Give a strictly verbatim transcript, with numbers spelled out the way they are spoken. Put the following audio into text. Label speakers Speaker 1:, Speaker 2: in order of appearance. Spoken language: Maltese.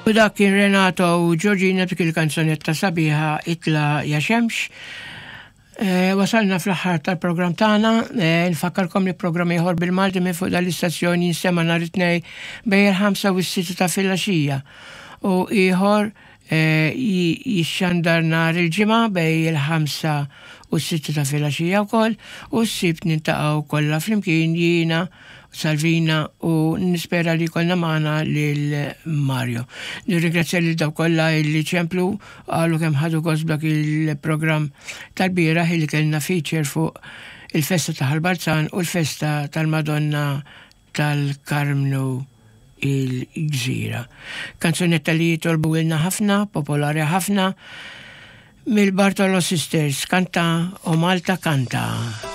Speaker 1: U dak kien Renato u Georgina b'dik il-kanzunetta sabiħa Itla ja Xemx. E, wasalna fl-aħħar tal-programm tagħna, e, nfakkarkom li programm ieħor bil-Malti minn fuq dal-istazzjon jinstema' nhar it-Tnejn bejn il-ħamsa u s-sitta ta' filgħaxija. U ieħor e, jixxandar nhar il-Ġimgħa bejn il-ħamsa u s-sitta ta' filgħaxija wkoll u s-Sibt niltaqgħu kollha flimkien jiena Salvina u nispera li jkollna magħna lil Mario. Nirringrazzja lil dawk kollha li ċemplu, qalu kemm ħadu gost b'dak il-programm tal-bieraħ li kellna feature fuq il-festa ta' Ħal Balzan u l-festa tal-Madonna tal-Karmnu il-Gżira. Kanzunetta li jitolbu ilna ħafna, popolari ħafna, mill-Bartolo Sisters, Kanta o Malta Kanta.